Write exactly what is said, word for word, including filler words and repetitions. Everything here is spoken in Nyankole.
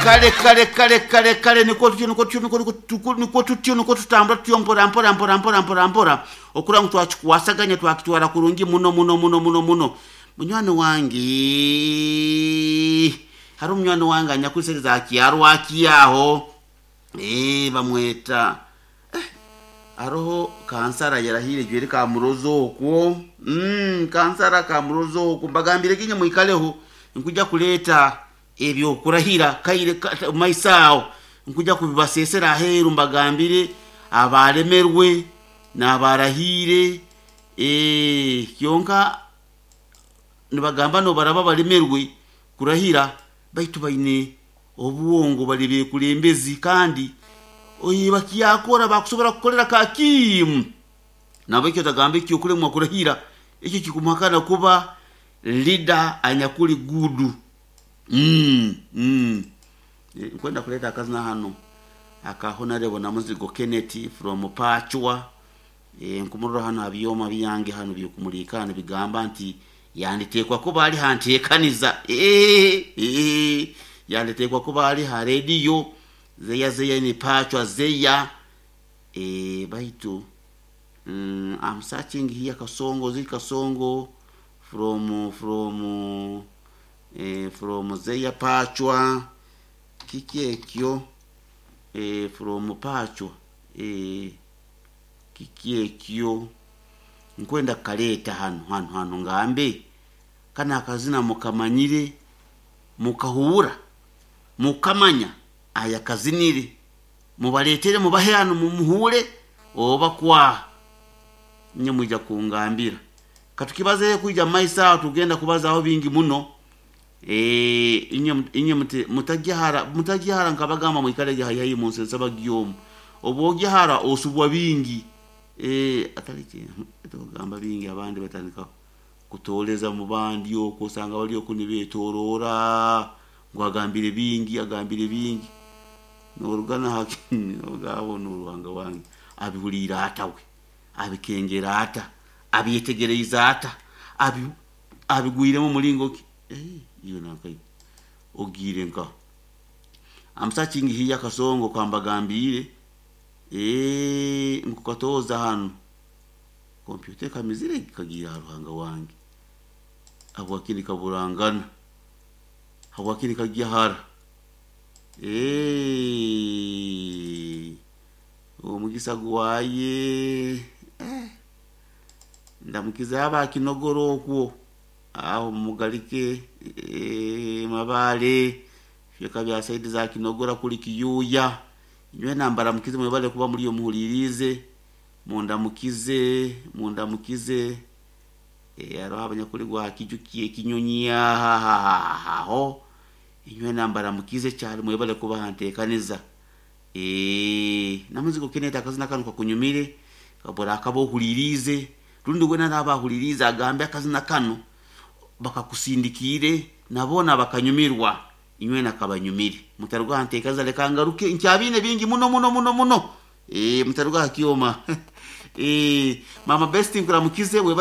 Kale kale kale kale kale, nikwo tutyo, nikwo tutyo, nikwo tutyo, nikwo tutyo, nikwo tutambura tutyo mpora mpora mpora mpora mpora mpora, okura ngu twakikwasaganya, twakitwara kurungi muno muno muno muno muno. Munywani wange, hariho omunywani wange anyakusereza akyarwaki aho, eh bamweta eh, hariho kansara yarahire jweri kamurozo okwo mm, kansara kamurozo okwo. Mbagambire kinye mwikaleho, nkuja kuleta ebyokurahira kaire ka- maiso aho, nkuja kubibasesera aheeru, mbagambire abalemerwe n'abarahire. eh, kyonka nibagamba nobaraba balemerwe kurahira, baitu baine obuwongo, bali bekulembezi, kandi oye bakyakora bakusobora kukorera kakimu. Nabwekyo tagamba ekyo okulemwa kurahira ekyo kikumuhakana kuba leader anyakuli gudu. mm, mm. Eh, nkwenda kuleta akazina hano aka Honorable Namuzigo Kenneth from Pachwa. e, nkumurora hano abyoma byange hano byokumulika hano bigamba nti yanditekwa kuba ali hanteekaniza. e, e, yanditekwa kuba ali ha rediyo zeya zeya ni Pachwa zeya. e, baitu mm, I'm searching here Kasongo, ziri Kasongo from from eh, from Zeya Pachwa, kiki ekyo, eh, from Pachwa, eh, kiki ekyo nkwenda kaleeta hano hano hano, ngambe kana akazina mukamanyire, mukahuura, mukamanya aya kazinire, mubaletere mubahe hano mumuhure oba kwaha nye mwija kungambira. Katukibazeyo kwija mumaiso aho, tugenda kubazaho bingi muno. Eh, inye inye mute- mutajyahara mutajyahara, nkabagamba mwikale haihi munsi nsaba gyomu obwogyahara osubwa bingi. eh atali tugamba bingi, abandi batandika kutoleza mu bandi okwo, osanga bali okwo nibetorora ngu agambire bingi, agambire bingi, norugana haki ogabo n'oruhanga wange abihuliire ata, we abikengera ata, abyetegereize ata, abi abigwiremu mulingo ki? Eh, iyo nankai ogiire nka I'm searching here Kasongo kambagambire, eh nkukatoza hano kompyuta kamizire kagira ruhanga wange habwakini kaburangana, habwakini kagyahara. eh omugisa gwaye, eh, ndamukiza aba kinogoro okwo aho mugalike, eh, mabale fyeka bya saidi za Kinogora kuli kiyuya, inywe nambara mukize, mwebale kuba muri yo muhulirize, mundamukize mundamukize. eh, hariho abanyakuli gwa kijukiye kinyonyi aho, inywe nambara mukize cyane, mwebale kuba hantekaniza. eh namuzigo Kenneth akazina kanu kakunyumire kabora akaba ohulirize, rundi wena nabahulirize agambe akazina kano bakakusindikire nabona bakanyumirwa, inywe nakabanyumire. Mutarugwa hantekaniza, leka ngaruke nkyabine bingi muno muno muno muno. eh mutaruga hakioma. eh mama best nkuramukize we.